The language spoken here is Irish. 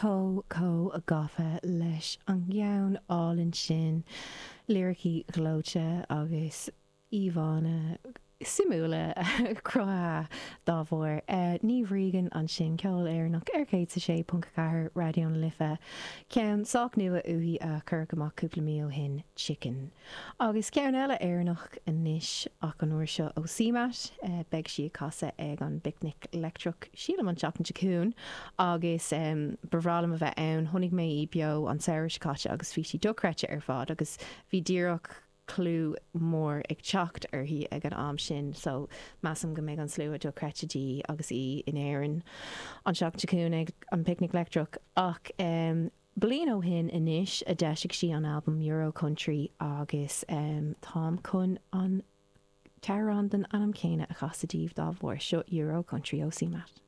Chomh, chomh gafa leis an gceann álainn sin, liricí gleoite agus íomhánna suimiúla cruthaithe dá bharr. Niamh Regan ansin, ceol Éireannach ar 106.4 Raidió na Life, ceann sách nua uaithi a cuireadh amach cúpla mí ó shin, Chicken. Agus ceann eile Éireannach anois ach an uair seo ó CMAT. Beidh sí ag casadh ag an bPicnic Leictreach, sílim an tseachtain seo chugainn, agus ba bhreá liom a bheith ann. Chonaic mé í beo an samhradh seo caite agus bhí sí dochreidte ar fad agus bhí díreach clú mór ag teacht uirthi ag an am sin so measaim go mbeidh an slua dochreidte di agus í in Éirinn an tseachtain seo chugainn ag an bPicnic Leictreach. Ach Bliain ó shin anois a d'eisigh sí an albam Euro Country agus táim chun an t-amhrán den ainm céanna a chasadh daoibh dá bharr. Seo Euro Country ó CMAT.